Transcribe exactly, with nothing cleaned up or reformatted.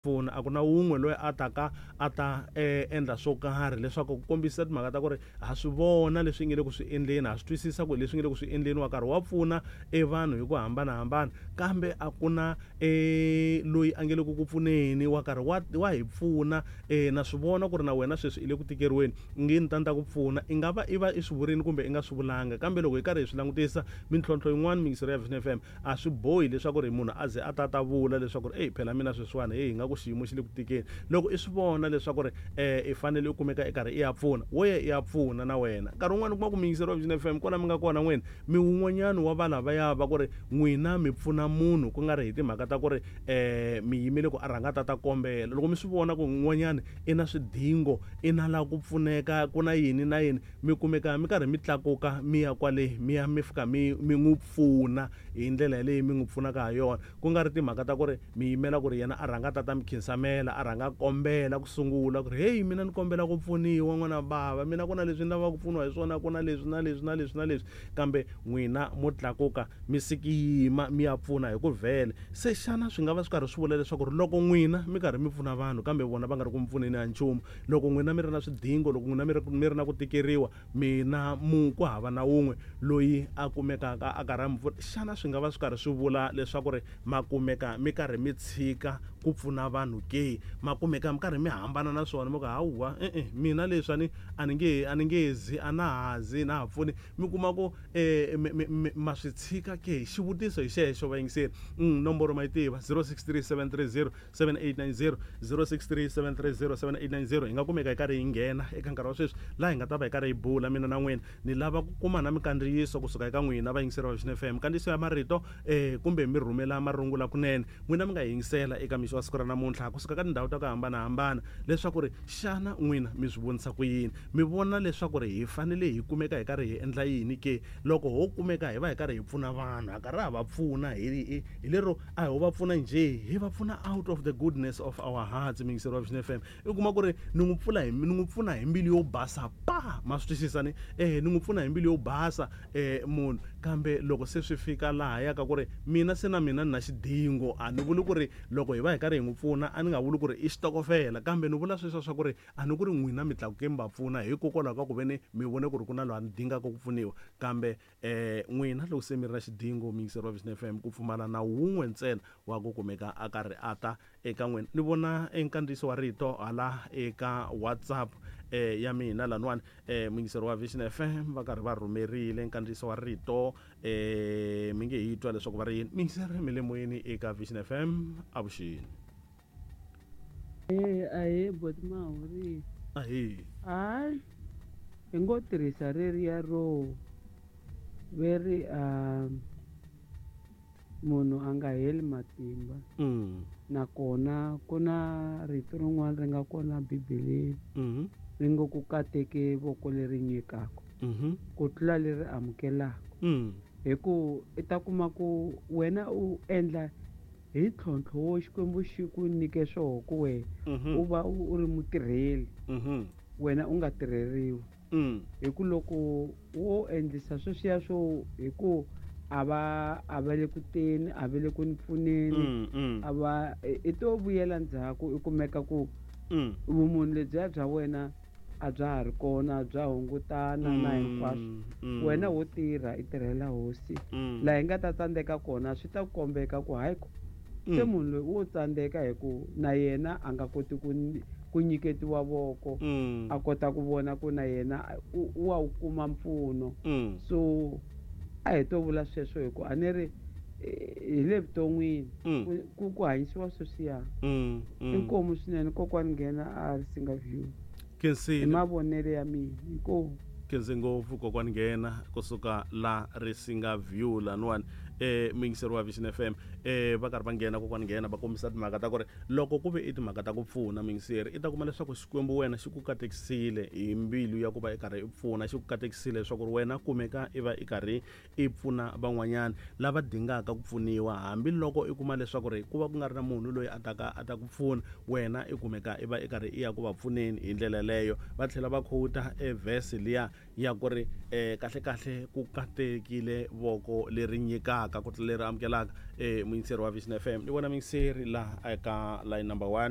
Pfuna a ku na wun'we loyi a taka a ta eh, endla swo karhi leswaku ku kombisa timhaka ta ku ri ha swi vona leswi nge le ku swi endleni, ha swi twisisa ku leswi nge le ku swi endleni, wa karhi wa pfuna e vanhu hi ku hambanahambana, kambe a ku na e loyi a nge le ku ku pfuneni, wa karhi wa wa hi pfuna. eh, na swi vona ku ri na wena sweswi i le ku tikeriweni, nge ni ta ni ta ku pfuna. I nga va i va i swi vurini kumbe i nga swi vulanga, kambe loko hi karhi hi swi langutisa mintlhontlho yin'wana mingisero ya Vision F M, a swi bohi leswaku ri munhu a ze a ta ta vula leswaku ri ey phela mina sweswiwani hey hi nga ku xiyimo xi le ku tikeni. Loko i swi vona leswaku ri eh i fanele u kumeka i karhi i ya pfuna, wo ya i ya pfuna na wena. Nkarhi wun'wani u kuma ku muyingiseri wa Vision F M kwala mi nga kona n'wina mi wun'wanyana wa valavaya va ku ri n'wina mi pfuna munhu ku nga ri hi timhaka ta ku ri eh mi yimele ku a rhanga ta ta kombela. Loko mi swi vona ku un'wanyana i na swidingo, i na la ku pfuneka, ku na yini na yini, mi kumeka mi karhi mi tlakuka mi ya kwale mi ya mi fika mi mi n'wi pfuna hi ndlela yaleyo mi n'wi pfunaka ha yona, ku nga ri timhaka ta ku ri mi yimela ku ri yena a rhanga ta ta mi khinsamela, a rhanga kombela ku sungula ku ri hey mina ni kombela ku pfuniwa n'wana bava, mina ku na leswi ni lavaka ku pfuniwa hi swona, ku na leswi na leswi na leswi na leswi, kambe n'wina mo tlakuka mi sikiyima mi ya pfuna hi ku vhele. Se xana swi nga va swi karhi swi vula leswaku ri loko n'wina mi karhi mi pfuna vanhu kambe vona va nga ri ku mi pfuneni ha nchumu, loko n'wina mi ri na swidingo, loko n'wina mi ri mi ri na ku tikeriwa, mina mu ku hava na wun'we loyi a kumekaka a karhi a mi pfuna, xana swi nga va swi karhi swi vula leswaku ri ma kumeka mi karhi mi tshika ku pfuna vanhu ke? Ma kumeka mi karhi mi hambana na swona, mi ku hawa e-e mina leswi a ni a ni nge a ni nge zi a na ha zi na ha pfuni, mi kuma ku eh ma swi tshika ke? Xivutiso hi xexo vayingiseri. Nomboro ma yi tiva zero six three seven three zero seven eight nine zero, zero six three seven three zero seven eight nine zero. Hi nga kumeka hi karhi hi nghena eka nkarhi wa sweswi laha hi nga ta va hi karhi hi bula mina na n'wina. Ni lava ku kuma na minkandziyiso kusuka eka n'wina vayingiseri va Vision F M, minkandziyiso ya marito eh kumbe mi rhumela marungula kunene n'wina mi nga yingisela eka mixo wa siku ra namuntlha kusuka ka tindhawu ta ku hambanahambana, leswaku ri xana n'wina mi swi vonisa ku yini, mi vona leswaku ri hi fanele hi kumeka hi karhi hi endla yini ke loko ho kumeka hi va hi karhi hi pfuna vanhu, ha karhi ha va pfuna hi hi lero a ho va pfuna njhe, hi va pfuna out of the goodness of our hearts. Muyingiseri wa Vision F M, i kuma ku ri ni n'wi pfula hi ni n'wi pfuna hi mbilu yo basa pa, ma swi twisisa ni eh ni n'wi pfuna hi mbilu yo basa eh munhu, kambe loko se swi fika laha ya ka ku ri mina se na mina ni na xidingo, a ni vuli ku ri loko hi va hi karhi hi n'wi pfuna a ni nga vuli ku ri i xitokofela, kambe ni vula sweswo swa ku ri a ni ku ri n'wina mi tlakuke mi va pfuna hikokwalaho ka ku ve ni mi vone ku ri ku na loyi a ni dingaka ku pfuniwa, kambe eh n'wina loko se mi ri na xidingo muyingiseri wa Vision F M, ku pfumala na wun'we ntsena wa ku kumeka a karhi a ta eka n'wina. Ni vona enkandziyiso wa rito hala eka WhatsApp eh ya mina laniwani, eh muyingiseri wa Vision F M va karhi va rhumerile nkandziyiso wa rito, eh mi nge hi twa leswaku va ri yini. Muyingiseri mi le moyeni eka Vision F M, avuxeni. Eh ahe boti Mahuri. Ahe. Hayi hi ngo tirhisa reriya ro veri a munhu a nga heli matimba. Mm. Nakona ku na rito rin'wana ri nga kona Bibeleni. Mm-hmm. Ri ngo ku kateke voko leri nyikaka. Mm-hmm. Ku tlula leri amukelaka. Mm. Hi ku i ta kuma ku wena u endla hi ntlhontlho wo Xikwembu xi ku nyike swoho ku wena Mm-hmm. u va u ri mutirheli. Mm-hmm. Wena u nga tirheriwi. Mm. Hi ku loko wo endlisa sweswiya swo hi ku a va a va le ku teni, a va le ku ni pfuneni, Mm, mm. a va i to vuyela ndzhaku i kumeka ku Mm. vumunhu lebyiya bya wena a bya ha ri kona, bya hungutana na hinkwaswo. Mm, Wena wo tirha i tirhela hosi. Mm. Laha hi nga ta tsandzeka kona swi ta kombeka ku hayi ko se Mm. munhu loyi wo tsandzeka hi ku na yena a nga koti ku ku nyiketiwa voko, Mm. a kota ku vona ku na yena u, u wa wu kuma mpfuno. Mm. So a hi to vula sweswo hi ku a ni ri hi le vuton'wini Mm. ku, ku, ku hanyisiwa sweswiya. Mm, mm. Inkomu swinene kokwani nghena a ri singa view. Khensile. Hi mavonelo ya mina inkomu. Khense ngopfu kokwani nghena kusuka la Risinga View laniwani eh muyingiseri wa Vision F M, eh va karhi va nghena kokwani nghena va kombisa timhaka ta ku ri loko ku ve i timhaka ta ku pfuna muyingiseri, i ta kuma leswaku Xikwembu wena xi ku katekisile hi mbilu ya ku va i karhi i pfuna, xi ku katekisile leswaku ri wena kumeka i va i karhi i pfuna van'wanyana lava dingaka ku pfuniwa, hambiloko i kuma leswaku ri ku va ku nga ri na munhu loyi a taka a ta ku pfuna, wena i kumeka i va i karhi i ya ku va pfuneni hi ndlela leyo. Va tlhela va quote e verse liya ya ku ri um kahle kahle ku katekile voko leri nyikaka ku tlula leri amukelaka um muyingiseri wa Vision F M ni vona muyingiseri laha eka line number one.